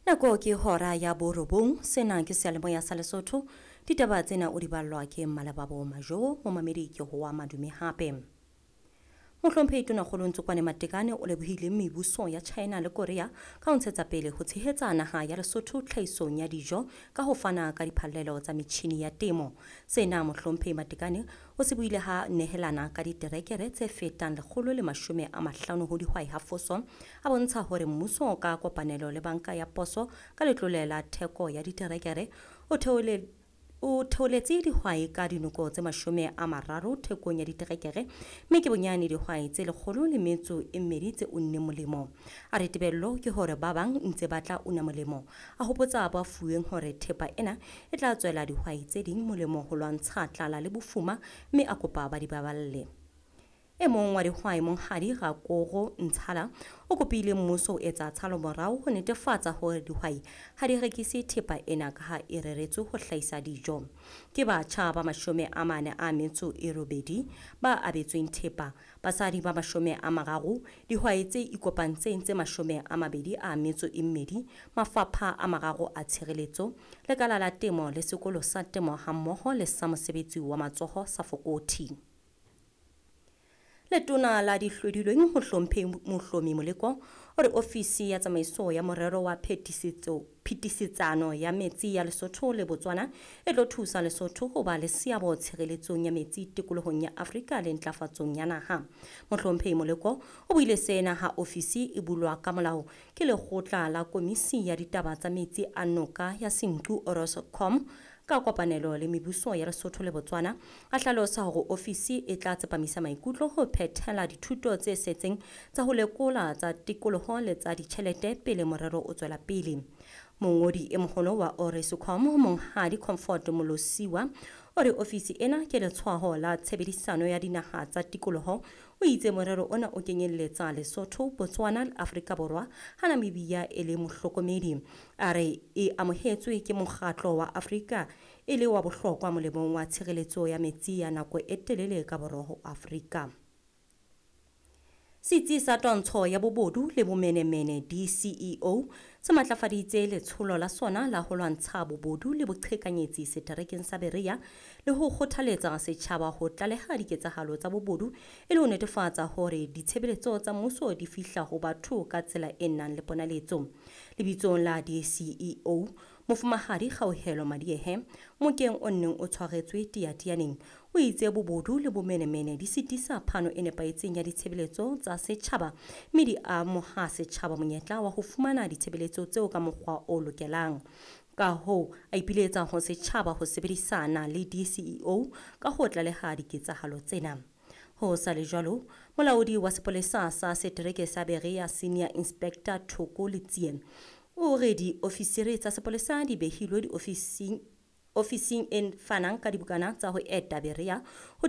Nako ke hora ya borobong. Sena ke seyalemoya sa Lesotho. Ditaba tsena o di ballwa ke Mmalebabo Majo. Momamedi ke hoa madume hape. Mohlomphehi Tonakgolo Ntsokoane Matekane o lebohile mebuso ya China le Korea ka ho ntshetsa pele ho tshehetsa naha ya Lesotho tlhahisong ya dijo ka ho fana ka diphallelo tsa metjhini ya temo. Sena Mohlomphehi Matekane o se buile ha nehelana ka diterekere tse fetang 150 ho dihwai ha Foso, a bontsha hore mmuso ka kopanelo le banka ya poso ka letlole la theko ya diterekere o theole o theoletse dihwai ka dinoko tse 30 thekong ya diterekere, mme ke bonyane dihwai tse 102 tse unneng molemo. A re tebello ke hore ba bang ntse ba tla una molemo. A hopotsa ba fuweng hore thepa ena e tla tswela dihwai tse ding molemo ho lwantsha tlala le bofuma, mme a kopa ba di baballe. E mong wa dihwai, Monghadi Rakoro Ntshala, o kopile mmuso ho etsa tshalomorao ho netefatsa hore dihwai ha di rekise thepa ena ka ha e reretswe ho hlahisa dijo. Ke batjha ba 48 ba abetsweng thepa, basadi ba 30, dihwai tse ikopantseng tse 22, mafapha a 3 a tshireletso, lekala la temo le sekolo sa temo hammoho le sa mosebetsi wa matsoho sa Fokothi. Letona la dihlodilweng Mohlomphehi Mohlomi Moleko o re ofisi ya tsamaiso ya morero wa phetisetsano ya metsi ya Lesotho le Botswana e tlo thusa Lesotho ho ba le seabo tshireletsong ya metsi tikolohong ya Afrika le ntlafatsong ya naha. Mohlomphehi Moleko o buile sena ha ofisi e bulwa ka molao ke lekgotla la komisi ya ditaba tsa metsi a noka ya Senqu Oroscom ka kopanelo le mebuso ya Lesotho le Botswana. A hlalosa hore ofisi e tla tsepamisa maikutlo ho phethela dithuto tse setseng tsa ho lekola tsa tikoloho le tsa ditjhelete pele morero o tswela pele. Mongodi e moholo wa Oroscom, Monghadi Comfort Molosiwa, o re ofisi ena ke letshwaho la tshebedisano ya dinaha tsa tikoloho. O itse morero ona o kenyelletsa Lesotho, Botswana le Afrika Borwa, ha Namibia e le mohlokomedi. A re e amohetswe ke mokgatlo wa Afrika e le wa bohlokwa molemong wa tshireletso ya metsi ya nako e telele ka borwa ho Afrika. Setsi sa twantsho ya bobodu le bomenemene DCEO se matlafaditse letsholo la sona la ho lwantsha bobodu le boqhekanyetsi seterekeng sa Berea le ho kgothaletsa setjhaba ho tlaleha diketsahalo tsa bobodu e le ho netefatsa hore ditshebeletso tsa mmuso di fihla ho batho ka tsela e nang le ponaletso. Lebitsong la DCEO, Mofumahadi Kgauhelo Madiehe, mokeng o neng o tshwaretswe Teatianeng, o itse bobodu le bomenemene di sitisa phano e nepahetseng ya ditshebeletso tsa setjhaba mme di amoha setjhaba monyetla wa ho fumana ditshebeletso tseo ka mokgwa o lokelang. Ka hoo, a ipiletsa ho setjhaba ho sebedisana le DCEO ka ho tlaleha diketsahalo tsena. Ho sa le jwalo, molaodi wa sepolesa sa setereke sa Berea Senior Inspector Thoko Letsie o re diofisiri tsa sepolesa di behilwe ofising e fanang ka dibukana tsa ho eta Berea ho